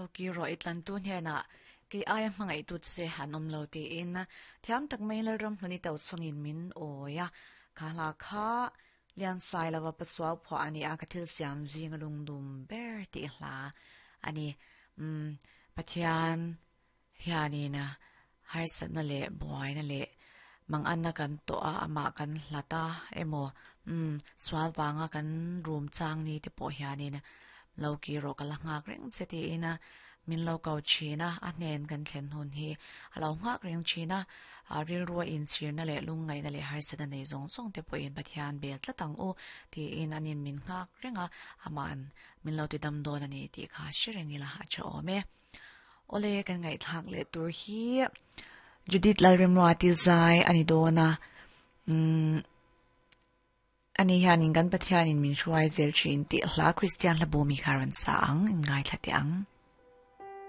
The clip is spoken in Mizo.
Lo ki rawh i tlantu hnenah kei aia hmangaih tut che an awm lo tiin thiam tak mai Lalram hlun i to chungin min awi a. Kha hla kha Liansai lova Pachuau phuah a ni a, ka thil siam zinga lungdum ber tih hla a ni. Umm Pathian hianin harsatna leh buaina leh manganna kan tawh a, amah kan hlat a emaw umm sual vanga kan rum chang ni te pawh hianin lo kir rawh ka la nghak reng che tiin min lo ko thin a, a hnen kan thlen hun hi a lo nghak reng thin a, rilrua inchhirna leh lungngaihna leh harsatna nei zawng zawng te pawhin Pathian bel tlat ang u tiin anin min nghak reng a, ama'n min lo ti dam dawn a ni tih kha hre reng ila a tha awm e. Awle kan ngaihthlak leh tur hi Judith Lalremruati zai a ni dawn a, umm ani hianin kan Pathianin min hruai zel thin tih hla Kristian hla bu mi kha rawn sa ang, in ngaithla teh ang.